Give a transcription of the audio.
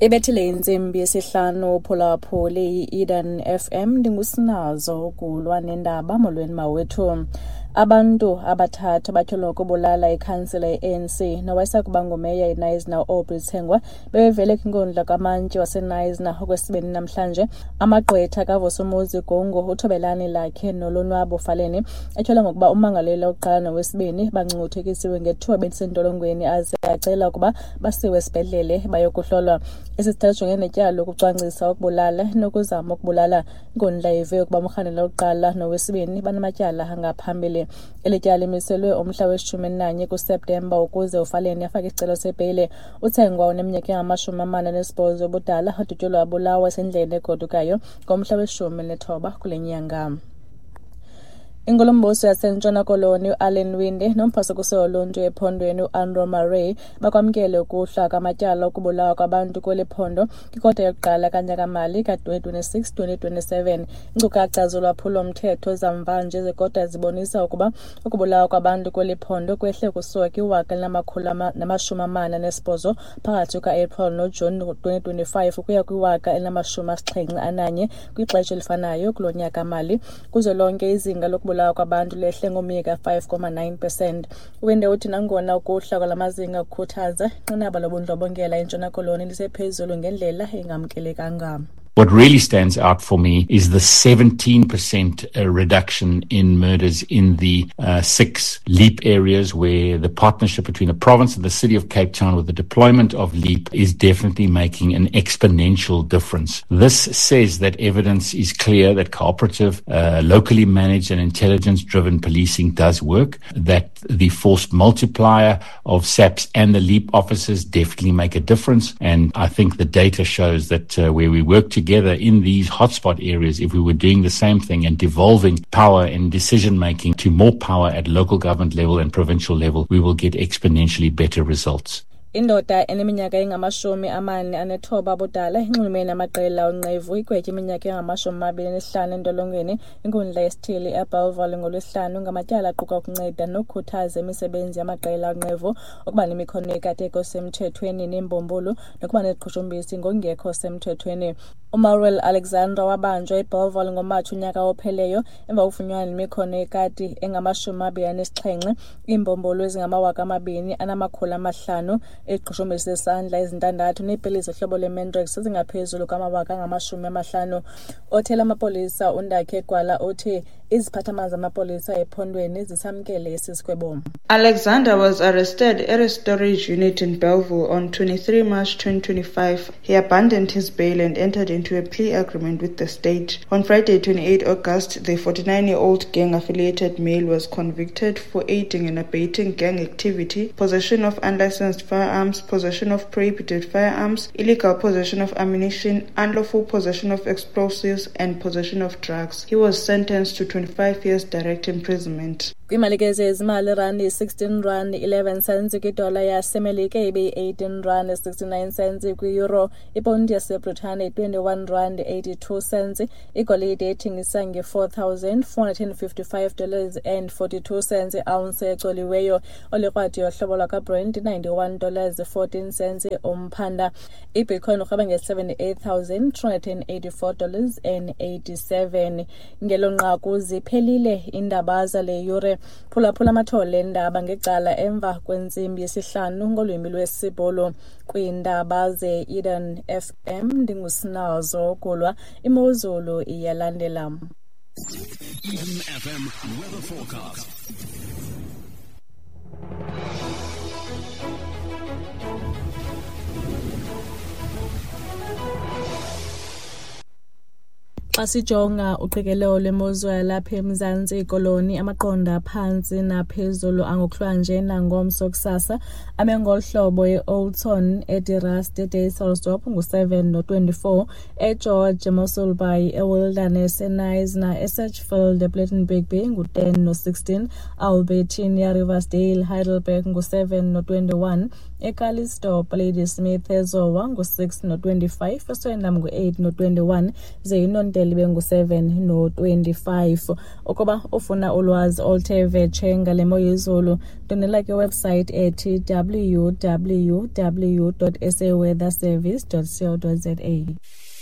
Ibethile intsimbi yesihlanu phulaphuli i-Eden FM, ndingusinazo ukulwa nendaba. Molweni mawethu. Abantu abathathu abatyholwa ngokubulala ikhansila ye-ANC nowayesakuba ngumeya eKnysna uAubrey Tsengwa bebevele kwinkundla kamantyi waseKnysna okwesibini namhlanje. Amagqwetha kaVusumuzi Gungu, uThobelani Lakhe noLonwabo Faleni etyholwa ngokuba ummangalelwa wokuqala nowesibini bangcungcuthekisiwe ngethuba besentolongweni aze acela ukuba basiwe esibhedlele bayokuhlolwa. Esi sithathu sijongene netyala lokucwangcisa ukubulala nokuzama ukubulala. Inkundla ive ukuba umrhanelwa wokuqala nowesibini banamatyala angaphambili. Eli tyala limiselwe umhla weshumi elinanye kuSeptemba ukuze uFaleni afake isicelo sebheyile. UTsengwa uneminyaka engama-48 ubudala, udutyulwe wabulawa esendleleni egodukayo ngomhla we-19 kule nyanga. Inkulumbuso yaseNtshona Koloni uAllan Winde nomphasokuso woluntu ephondweni uAndrew Murray bakwamkele ukuhla kwamatyala okubulawa kwabantu kweli phondo kwikota yokuqala kanyaka-mali ka-2026-2027. Iinkcukacha zolwaphulo-mthetho zamvanje zekota zibonisa ukuba ukubulawa kwabantu kweli phondo kwehle kusuka kwi-1,048 phakathi kuka-April noJuni 2025 ukuya kwi-1,071 kwixesha elifanayo kulo nyaka-mali. Kuzwelonke izinga lokubulawa kwabantu lehle ngomyika 5.9%. Uwinde uthi nangona ukuhla kwala mazinga kukhuthaza, inqanaba lobundlobongela eNtshona Koloni lisephezulu ngendlela engamkelekanga. What really stands out for me is the 17% reduction in murders in the 6 LEAP areas, where the partnership between the province and the city of Cape Town with the deployment of LEAP is definitely making an exponential difference. This says that evidence is clear that cooperative, locally managed and intelligence-driven policing does work, that the force multiplier of SAPS and the LEAP officers definitely make a difference. And I think the data shows that where we work together in these hotspot areas, if we were doing the same thing and devolving power and decision making to more power at local government level and provincial level, we will get exponentially better results. Indoda eneminyaka engama-49 abudala inxulumene namaqela onqevu igwetye iminyaka engama-25 entolongweni inkundla yesithili eBellville ngoLwesihlanu ngamatyala aquka ukunceda nokukhuthaza imisebenzi yamaqela onqevu, ukuba nemikhono yekati semthethweni neembumbulu nokuba neziqhushumbisi ngokungekho semthethweni. UMaruel Alexandra wabanjwa eBellville ngoMatshi unyaka opheleyo emva kokufunyanwa nemikhono yekati engama-27, iimbumbulu ezingama-2,500, iziqhushumbisi zesandla ezintandathu neepilisi zohlobo lweMandrax ezingaphezulu kwama-50,000. Othela amapolisa uNdakhe Gwala uthi iziphathamandla zamapolisa ephondweni zisamkele esi sigwebo. Alexander was arrested at a storage unit in Bellville on 23 March 2025. He abandoned his bail and entered into a plea agreement with the state. On Friday, 28 August, the 49-year-old gang-affiliated male was convicted for aiding and abetting gang activity, possession of unlicensed firearms, possession of prohibited firearms, illegal possession of ammunition, unlawful possession of explosives, and possession of drugs. He was sentenced to 25 years direct imprisonment. Kwimalike zezimali, irandi 16 rand 11 cents kwidola yaseMelika, ibe-18 rand 69 cents kwi-euro, iponti yaseBritane 21 rand 82 cents, igolide ethengisa nge-$4,455 and 42 cents i-ounce ecoliweyo, olikrwadi yohlobo lwakwaBrent $91 14 cents umphanda, ibitcoin urhweba nge-$78,384 and 87. Ngelo nqaku ziphelile iindaba zale yure. Phulaphula amathole endaba ngecala emva kwentsimbi yesihlanu ngolwimi lwesiBhulu. Kwiindaba ze-Eden FM ndingusinazo Gulwa. Imozulu iyalandela. Eden FM weather forecast. Xa sijonga uqikelelo lwemozulu yalapha eMzantsi Koloni, amaqondo aphantsi naphezulu angokuhlwanje nangomso kusasa ame ngolu hlobo: eOudtshoorn, eDe Rust, eDysselsdorp ngu-7 no-24, eGeorge, eMossel Bay, eWilderness, eKnysna, eSedgefield, ePlettenberg Bay ngu-10 no-16, Albertinia, Riversdale, Heidelberg ngu-7 no-21, eCalitzdorp, Ladysmith, eZowa ngu-6 no-25, eSwellendam ngu-8 no-21, ze iNontele iphele ibe ngu-7 no-25. Ukuba ufuna ulwazi oluthe vetshe ngale mo yezulu, ndwendwela kwiwebsite ethi www.saweatherservice.co.za.